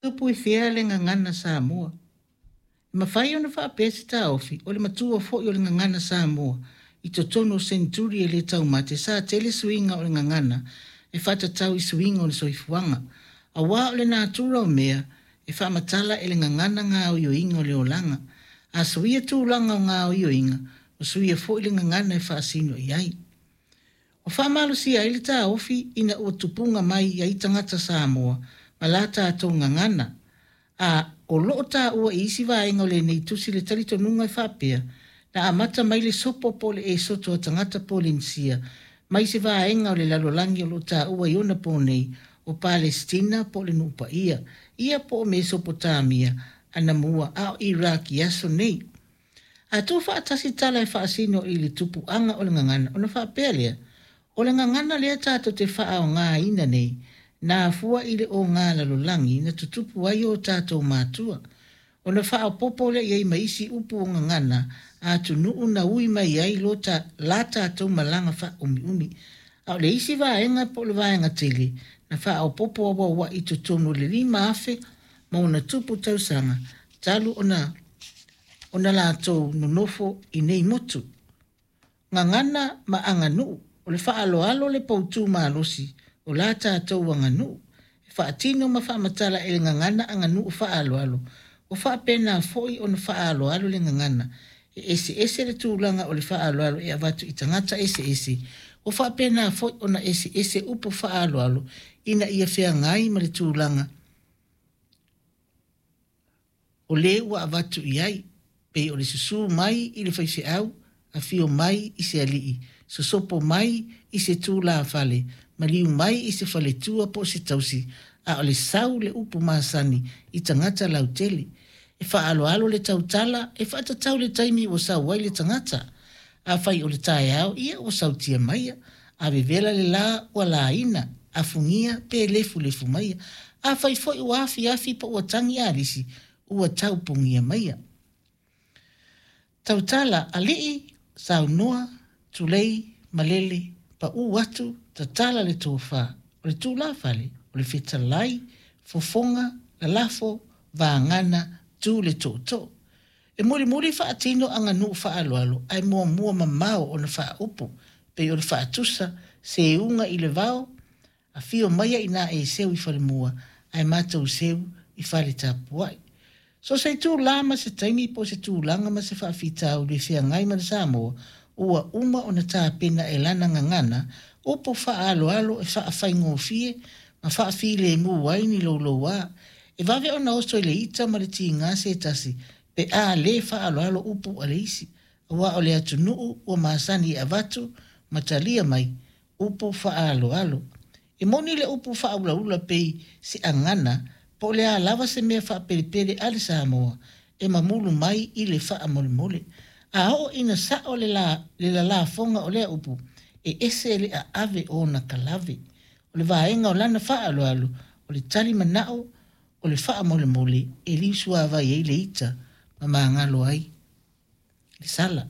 Tupu i fea le gagana Samoa? E mafai ona faapea se taofi, o le matua foi o le gagana Samoa i totonu o seneturi e le taumate sa tele suiga o le gagana e faatatau i suiga o le soifuaga. Aua o le natura o mea, e faamatala e le gagana gaoioiga o le olaga. A suia tulaga o gaoioiga, ua suia foi le gagana e faasino i ai. Ua faamalosia ai le taofi ina ua tupuga mai ai tagata Samoa ma la tatou gagana, a o lo o taua i isi vaega o lenei tusi le talitonuga e faapea, na amata mai le sopo po o le esoto a tagata Polenisia mai se vaega o le lalolagi o lo o taua i ona po nei o Palesitina po o le Nuu Paia, ia po o Mesopotamia anamua a o Iraq i aso nei. A tuufaatasi tala e faasino i le tupuaga o le gagana ona faapea lea, o le gagana lea tatou te faaaogaina nei, na afua i le oga lalolagi na tutupu ai o tatou matua. Ona faaopoopo lea i ai ma isi upu o gagana a atunuu na ui mai ai lo ta, la tatou malaga faaumiumi. A o le isi vaega po o le vaega tele, na faaopoopo auauai i totonu o le 5000 ma ona tupu tausaga talu ona ona latou nonofo i nei motu. Gagana ma aganuu, o le faaaloalo le poutu malosi o la tatou aganuu. E faatino ma faamatala e le gagana aganuu faaaloalo, ua faapena foi ona faaaloalo le gagana. E eseese le tulaga o le faaaloalo e avatu i tagata eseese, ua faapena foi ona eseese upu faaaloalo ina ia feagai ma le tulaga o le ua avatu i ai, pei o le susu mai i le faifeau, afio mai i se alii, sosopo mai i se tulafale, maliu mai i se faletua po o se tausi, a o le sau le upu masani i tagata lautele. E faaaloalo le tautala e faatatau le taimi ua sau ai le tagata. Afai o le taeao, ia ua sautia maia. A vevela le la, ua laina, afugia pe lefulefu maia. Afai foi ua afiafi po ua tagi alisi, ua taupogia maia. Tautala, alii, saunoa, tulei, malele, paū atu, tatala le tofa, o le tulafale, o le fetalai, fofoga, lalafo, vagana, tu le tootoo. E mulimuli faatino aganuu faaaloalo ae muamua mamao ona faaupu, pei o le faatusa, seuga i le vao, afio maia ina e seu i falemua ae matou seu i fale tapuai. So o se itulā ma se taimi po o se tulaga ma se faafitauli e feagai ma le Samoa, ua uma ona tapena e lana gagana upu faaaloalo e faafaigofie ma faafilemu ai ni loulouā. E vave ona oso i le ita ma le tiga se tasi pe a le faaaloalo upu a le isi, aua o le atunuu ua masani e avatu ma talia mai upu faaaloalo. E moni le upu faaulaula pei se agana po o le a lava se mea faapelepele a le Samoa e mamulu mai i le faamolemole. A oo ina sao le, la, le lalafoga o lea upu, e ese le aave o ona kalave. O le vaega o lana faaaloalo, o le tali manao, o le faamolemole e liusuavai ai le ita ma magalo ai le sala.